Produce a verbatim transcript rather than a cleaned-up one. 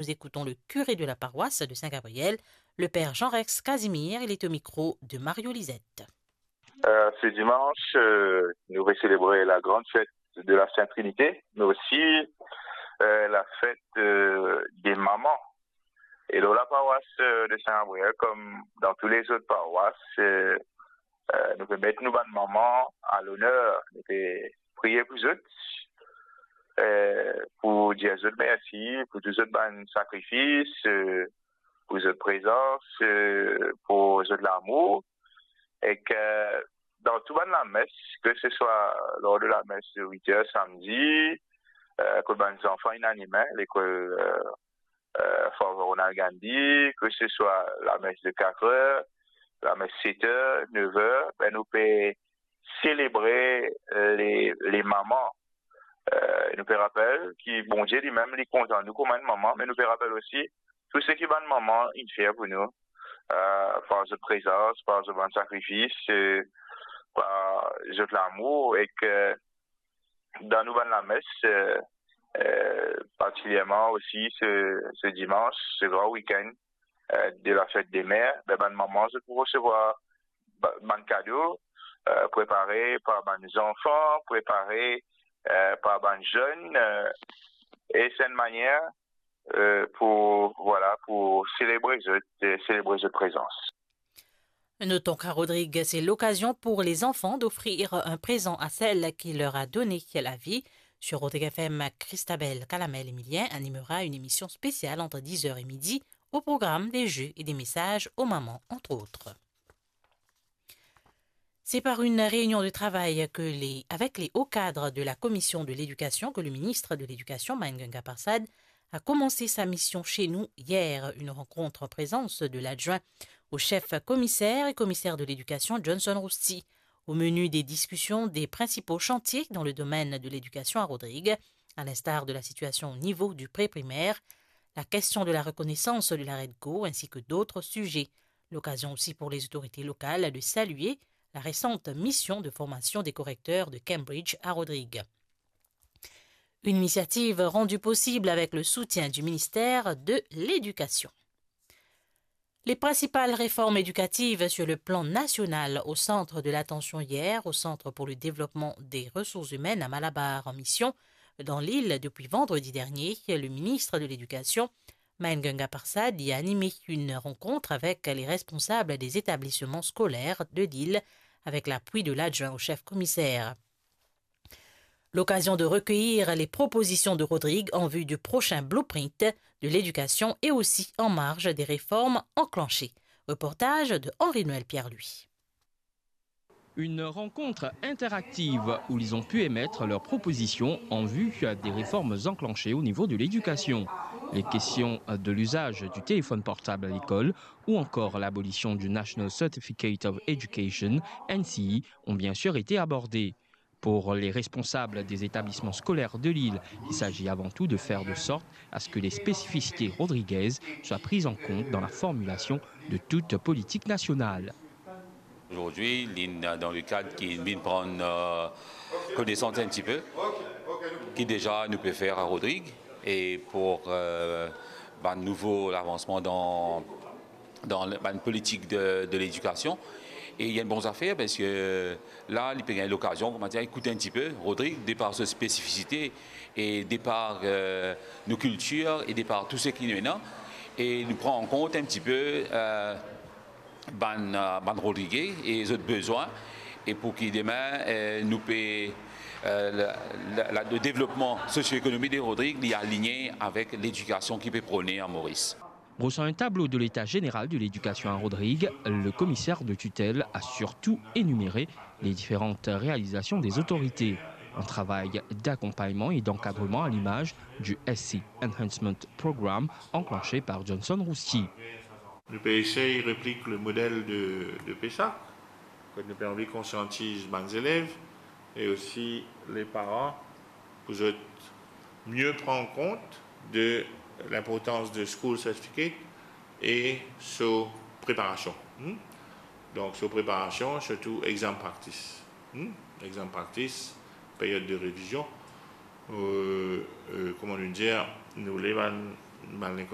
Nous écoutons le curé de la paroisse de Saint-Gabriel, le père Jean-Rex Casimir. Il est au micro de Mario Lisette. Euh, ce dimanche, euh, nous va célébrer la grande fête de la Sainte Trinité, mais aussi, euh, la fête, euh, des mamans. Et dans la paroisse, euh, de Saint-Gabriel, comme dans toutes les autres paroisses, euh, euh, nou pe met nou bann manman a loner, nou pe priye pou zot, euh, pou dir zot mersi pou tou zot bann sakrifis, euh, pou zot prezans, euh, pou zot lamour. Ek dan tou bann lames, ke se swa lor de lames de wit er samdi, euh, kot bann zanfan inn anime lekol, euh, euh, Father Ronald Gandhi, ke se swa lames de kat er, lames set er, nef er, be nou pe selebre, euh, les, les mamans. Euh, nou pe rapel ki Bondie limem, li kontan nou kouma enn manman, me nou pe rapel osi tou seki bann manman inn fer pou nou, euh, par zot prezans, par zot bann sakrifis, euh, par zot lamour, ek dan nou bann lames, euh, euh, partikilierman osi se, se dimans, se gran wikenn, euh, de la fête des mères, be bann manman, zot pou resevwar ba-, bann kado, euh, prepare par bann zanfan, prepare, euh, par bann zenn, euh, e se enn manier, euh, pou, vwala, pou selebre zot, euh, selebre zot prezans. Notons qu'à Rodrigues, c'est l'occasion pour les enfants d'offrir un présent à celle qui leur a donné la vie. Sur Rodrigue F M, Christabelle Calamel-Emilien animera une émission spéciale entre dix heures et midi. Au programme, des jeux et des messages aux mamans, entre autres. C'est par une réunion de travail que les, avec les hauts cadres de la commission de l'éducation que le ministre de l'Éducation, Main Ganga Prasad, a commencé sa mission chez nous hier, une rencontre en présence de l'adjoint au chef commissaire et commissaire de l'éducation, Johnson Rousti. Au menu des discussions, des principaux chantiers dans le domaine de l'éducation à Rodrigues, à l'instar de la situation au niveau du pré-primaire, la question de la reconnaissance de la Redco ainsi que d'autres sujets. L'occasion aussi pour les autorités locales de saluer la récente mission de formation des correcteurs de Cambridge à Rodrigues. Une initiative rendue possible avec le soutien du ministère de l'Éducation. Les principales réformes éducatives sur le plan national au centre de l'attention hier au Centre pour le développement des ressources humaines à Malabar en mission dans l'île depuis vendredi dernier. Le ministre de l'Éducation, Main Ganga Prasad, y a animé une rencontre avec les responsables des établissements scolaires de l'île, avec l'appui de l'adjoint au chef commissaire. L'occasion de recueillir les propositions de Rodrigue en vue du prochain blueprint de l'éducation et aussi en marge des réformes enclenchées. Reportage de Henri-Noël Pierre-Louis. Une rencontre interactive où ils ont pu émettre leurs propositions en vue des réformes enclenchées au niveau de l'éducation. Les questions de l'usage du téléphone portable à l'école ou encore l'abolition du National Certificate of Education, N C E, ont bien sûr été abordées. Pour les responsables des établissements scolaires de l'île, il s'agit avant tout de faire de sorte à ce que les spécificités rodriguaises soient prises en compte dans la formulation de toute politique nationale. Aujourd'hui, li dan le kad ki vinn pran, euh, konesans un petit peu, ki deza nou pe fer a Rodrigues, e pou, euh, bann nouvo lavansman dan, dan le, bann politik de, de ledikasion. E li enn bon zafer, parski la, li pe gagn lokazion, kouma dir, ekout un petit peu Rodrigues, de par so spesifisite, e de par, euh, nou kiltir, e de par tou seki nou ena, e nou pran an kont un petit peu, euh, bann, euh, bann Rodriguais e zot bezwin, e pou ki demin, euh, nou pe, euh, la, la, la, le devlopman sosio-ekonomik de Rodrigues, li aligne avek ledikasion ki pe prone a Moris. Brossant un tableau de l'état général de l'éducation à Rodrigues, le commissaire de tutelle a surtout énuméré les différentes réalisations des autorités. Un travail d'accompagnement et d'encadrement à l'image du S C Enhancement Programme enclenché par Johnson Rousti. Nou pe esey replik le model de, de PESAC, kot nou pe anvi konsiantiz bann zelev e osi le paran pou zot mie pran kont de linportans de school certificate e so preparasion. Hmm? Donk, so preparasion, sirtou exam practice. Hmm? Exam practice, period de revizion. Euh, euh, kouma nou dir, nou le bann Bann lekol